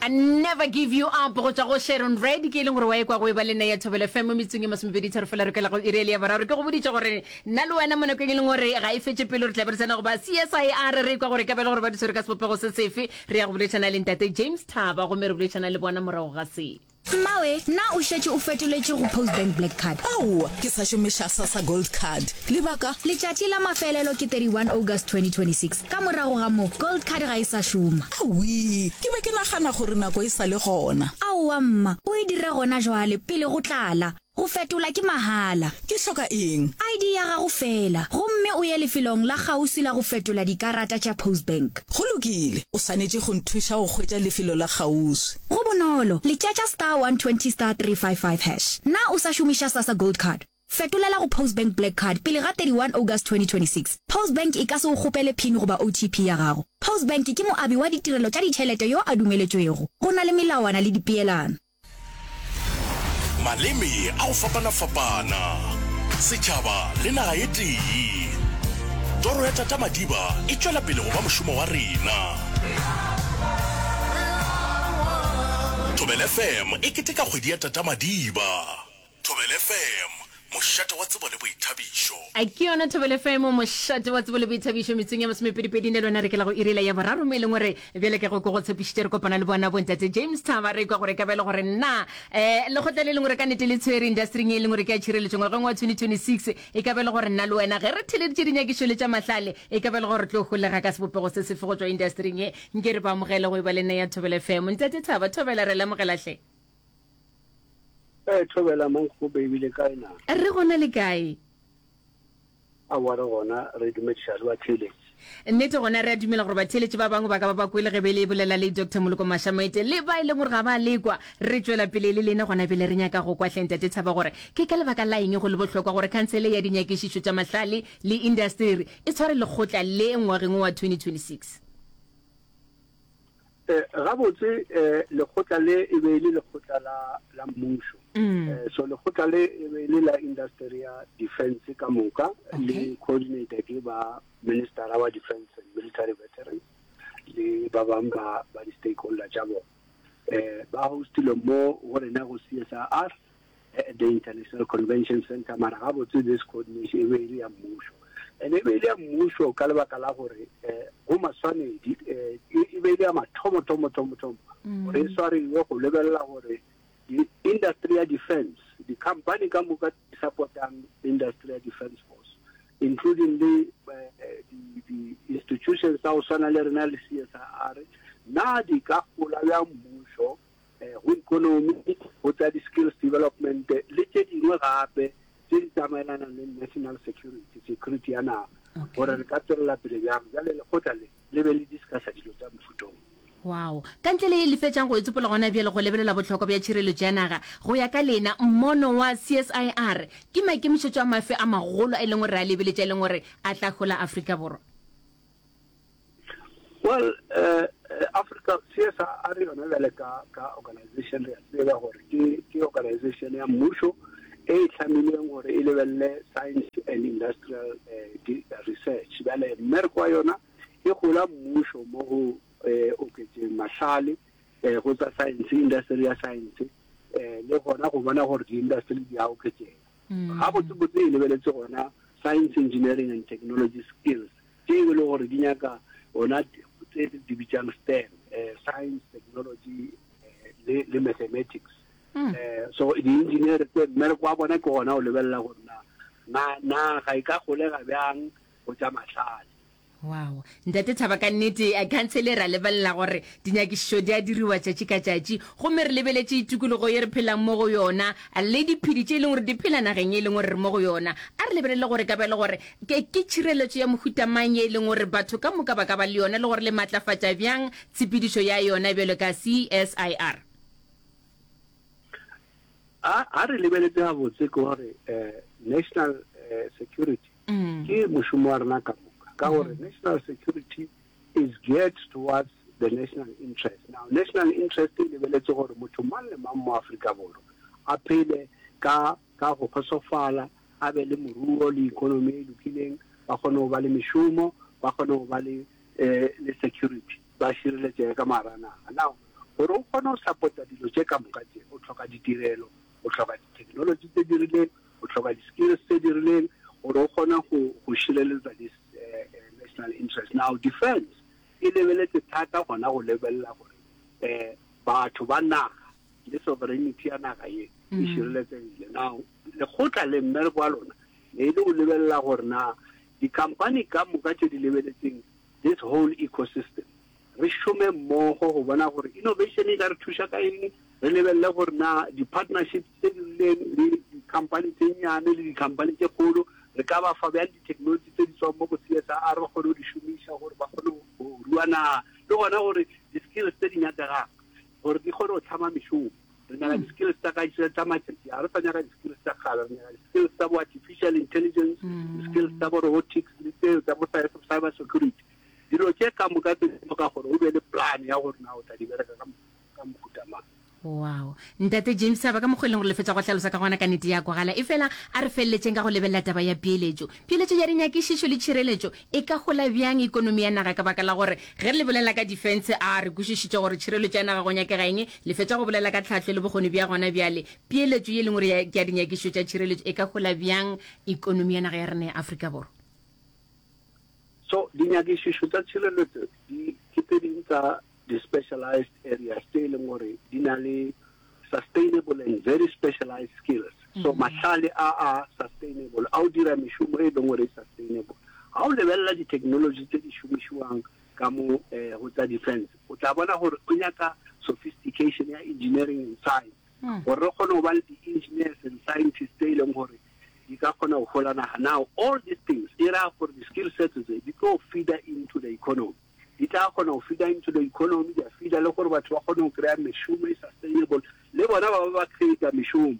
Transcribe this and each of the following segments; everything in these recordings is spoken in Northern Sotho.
I never give you up go tšwa go Sharon Red ke e leng gore wa ekwa go e ba le nna ya Thobela FM mo metsong e masomepedi tharo fela re kwela go iri ya boraro ke go boditše gore nna le wena mo nakong e leng gore ga e fetše pele re tla be re tsena go ba CSIR re ekwa gore e ka ba e le gore ba di tshwere ka sebopego se sefe re ya go boletšana le ntate James Thaba gomme re boletšana le bona morago ga se. Mmawe, na o šetše o fetoletše go Postbank Black Card? Aowa, ke sa šomiša Sassa Gold Card. Lebaka? Letšatši la mafelelo ke 31 August 2026. Ka morago ga moo, Gold Card ga e sa šoma. Awii, ke be ke nagana gore nako e sa le gona. Aowa mma, o e dire gona jwale, pele go tlala. Go fetola ke mahala. Ke hloka eng? ID ya gago feela, gomme o ye lefelong la kgauswi la go fetola dikarata tša Postbank. Go lokile, o swanetše go nthuša go hwetša lefelo la kgauswi. Go bonolo, letšatša star 120 star 355 hash. Na o sa šomiša Sassa Gold Card? Fetolela go Postbank Black Card pele ga 31 August 2026. Postbank e ka se o kgopele pin goba OTP ya gago. Postbank ke moabi wa ditirelo tša ditšhelete yo a dumeletšwego. Go na le melawana le dipeelano. Maleme a go fapana-fapana, setšhaba le naga e tee. Toro ya Tata Madiba e tšwela pele go ba mošomo wa rena. Thobela FM e keteka kgwedi ya Tata Madiba. Thobela FM, mošate wa tsebo le boithabišo. A ke yona Thobela FM, mošate wa tsebo le boithabišo, metsong ya masomepedipedi ne lona re ke la go iri la ya boraro mo e leng gore bjale ka go ko go tshepišitše re kopana le bona bontate James Thaba re kwa gore ka ba e le gore na um lekgotla le leng gore ka nete le tshwere industryng e leng gore ke ya tšhireletšo ngwageng wa 2026 e ka ba e le gore nna le wena ge re theleditše dinyakišo le tša mahlale e ka ba e le gore re tlo holega ka sebopego se sefe go tšwa industryng ye nke re ba amogele go e ba le nna ya Thobela FM ntate Thaba Thobela re lemogela hle Ee, thobela Mankgope ebile kae na? Re gona le kae? Aowa re gona, re dumediša le batheeletši. Nnete gona re a dumela gore batheeletši ba bangwe ba ka ba ba kwele ge be le bolela le Doctor Moloko Mashamaite le ba e leng gore ga ba lekwa. Re tšwela pele le lena gona bjale re nyaka go kwa hle Ntate Thaba gore ke ka lebaka la eng go le bohlokwa gore Khansele ya Dinyakišišo tša Mahlale le Indasteri e tshware lekgotla le ngwageng wo wa 2026. Eh, gabotse eh, lekgotla le e be e le lekgotla la, la mmušo mm. eh, so lekgotla le e be e le la industry ya defense ka moka okay. le coordinator ke ba ministera wa defense and military veterans le ba bang ba ba di-stakeholder tša bona eh, ba hostile mo go rena go CSIR at the International Convention Center mara gabotse this coordination e be e le ya mmušo and e be e le ya mmušo ka lebaka la gore um go maswanedi um e be e le ya mathomo thomo thomo thomo mm. gore e swariwe go lebelela gore di-industry ya defense di-company ka moka di supportang industry ya defense force including le eh, di-institutions tsa go swana le rena le CSIR na di ka gola bjang mmušo go ikonomi, go tša di-skills development le tše dingwe gape tše di tsamaelanang le national security, security ya naga, gore re ka tswelela pele bjang. Bjale lekgotla le le be le discussa dilo tša mofuta wo. Wow. Ka ntle le ye le fetšang go e tsopola gona bjale go lebelela bohlokwa bja tšhireletšo ya naga, go ya ka lena, mmono wa CSIR ke maikemišetšo a mafe a magolo a e leng gore re a lebeletše a e leng gore a tla hola Afrika Borwa? Well, uh, Africa CSIR yona bjale ka ka organization re a tseba gore ke ke organization ya mmušo e e hlamilweng gore e lebelele science and industrial uh, research bjale mmereko wa yona e gola mmušo mo go eh, oketšeng mahlale eh, go tsa science industry ya science eh, le gona go bona gore di-industry di a oketšega mm. gabotsebotse e lebeletse gona science engineering and technology skills tše e le gore di nyaka ona tse di bitsang STEM, eh, science, technology eh, le, le mathematics. Mm. Eh, so di-engineer tse mmereko wa bona ke gona o lebelela gore na na na ga e ka golega bjang go tša mahlale. Wow. Ntate Thaba ka nnete khansele ra lebelela gore dinyakišišo di a diriwa tšatši ka tšatši gomme re lebeletše tikologo ye re phelang mo go yona le diphedi tše e leng gore di phela nageng e leng gore re mo go yona. A re lebelele gore ka ba e le gore Ke, ke tšhireletšo ya mohuta mang ye e leng gore batho ka moka ba ka ba le yona le gore le matlafatša bjang tshepedišo ya yona bjalo ka CSIR? A, a re lebeletše gabotse ke gore eh, national eh, security mm. ke mošomo wa rena ka moka ka gore mm. national security is geared towards the national interest. Now, national interest e lebeletse gore motho mang le mang mo Afrika Borwa a phele ka ka go kgotsofala a be le moruo le economy e lokileng, ba kgone go ba le mešomo, ba kgone go ba le, eh, le security, ba šireletšege ka mogara naga. Now, Gore o kgone go support-a dilo tše ka moka tše, o hloka ditirelo, o hloka di-technology tse di rileng, o hloka di-skills tse di rileng gore o kgone go go šireletsa this national interest. Now defense e lebeletse thata gona go lebelela gore um batho ba naga le sovereignty ya naga ye e šireletsegile. Now lekgotla le mmereko wa lona ne e le go lebelela gore na di-company ka moka tše di lebeletseng this whole ecosystem Re šome mmogo go bona gore innovation e ka re thuša ka eng, re lebelele gore na di-partnerships tše di rileng le di-company tše nnyane le di-company tše kgolo re ka ba fa bjang di-technology tše di tswang mo go CSIR ba kgone go di šomiša gore ba kgone go rua naga, le gona gore di-skills tse di nyakegang gore di kgone go hlama mešomo. Re nyaka di-skills tša ka tša matšatši a, re sa nyaka di-skills tša kgale, re nyaka di-skills tša bo artificial intelligence, di-skills tša bo robotics le tseo tša bo cyber security. Dilo tše ka moka tse di hloka gore o be le plan ya gore na o tla di bereka ka ka mohuta mang. Wow. Ntate James a ba ka mokgwa e leng gore le fetša go hlalosa ka gona ka nete ya kwagala. Efela a re feleletšeng ka go lebelela taba ya peeletšo. Peeletšo ya dinyakišišo le tšhireletšo e ka hola bjang ikonomi ya naga ka baka la gore ge le bolela ka defense a re kwešišitše gore tšhireletšo ya naga go nyakega eng, le fetša go bolela ka tlhahlo le bokgoni bja gona bjale. Peeletšo ye e leng gore ke ya dinyakišišo tša tšhireletšo e ka hola bjang ikonomi ya naga ya rena ya Afrika Borwa? So dinyakišišo tša tšhireletšo di ke tse ding tsa di-specialized areas tše e leng gore di na le sustainable and very specialized skills. So mahlale a a sustainable a o dira mešomo e leng gore e sustainable. Ga o lebelela di-technology tse di šomišiwang ka mo eh, go tsa defense, o tla bona gore o nyaka sophistication ya engineering and science gore re kgone go ba le di-engineers and scientists tse e leng gore di ka kgona go hola naga. Now all these things e ra gore di-skill sets tse di tlo feeder into the economy, di tla kgona go feeder into the economy, di a feeder le gore batho ba kgone go kry-a mešomo e sustainable, le bona ba ba ba create mešomo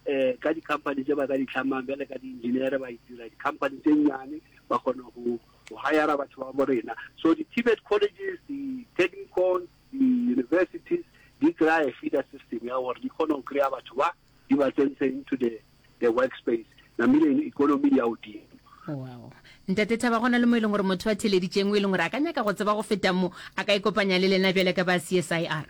um ka di-company tse ba ka di tlhamang bjale ka di-engineer ba itira di-company tse nnyane ba kgona go go hire batho ba bo rena. So di-TVET colleges, di-technicons, di-universities di kry-a feeder system ya gore di kgone go kry-a batho ba di ba tsentse into the the work space namile economy ya godimo. Wow. Ntate Thaba gona le mo e leng gore motho a theleditšeng o e leng gore a ka nyaka go tseba go feta mo a ka ikopanya le lena bjale ka ba CSIR.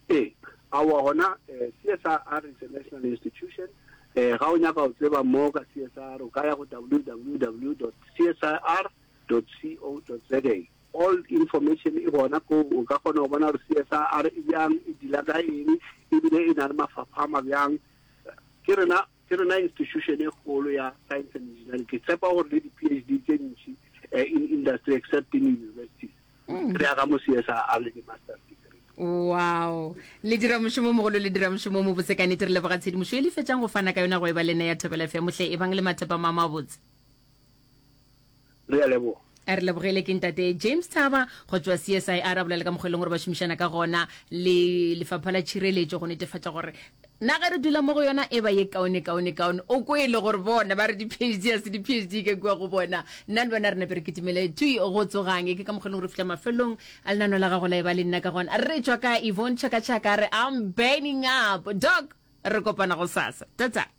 Ee, aowa gona eh, CSIR is a national institution. Eh, ga o nyaka go tseba mo ka CSIR o ka ya go www.csir.co.za. All information e gona koo, o ka kgona go bona gore CSIR e bjang, e deala ka eng, ebile e na le mafapha a mabjang. Ke rena, ke rena institution e kgolo ya science and engineering. Ke tshepa gore le di-PhD tše ntši eh, in industry except in universities mm. re ya ka mo CSIR le di-masters degree. Wow. Le dira mošomo mogolo, le dira mošomo o mobotse ka nnete. Re leboga tshedimošo e le fetšang go fana ka yona go e ba le nna ya Thobela FM. Hle ebang le mathapama a mabotse. Re a leboga. A re lebogele ke ntate James Thaba go tšwa CSIR a bolela ka mokgwa e leng gore ba šomišana ka gona le lefapha la tšhireletšo go netefatša gore na ge re dula mo go yona e ba ye kaone kaone kaone. O kwele gore bona ba re di-PhD a se di-PhD ke kua go bona. Nna le wena re nape re kitimele tui go tsogang. Ke ka mokgwa e leng gore fihla mafelong a lenano la gago la e ba le nna ka gona. Re tšwa ka Yvonne Chaka Chaka re I'm burning up. Doc, re kopana gosasa. Tata.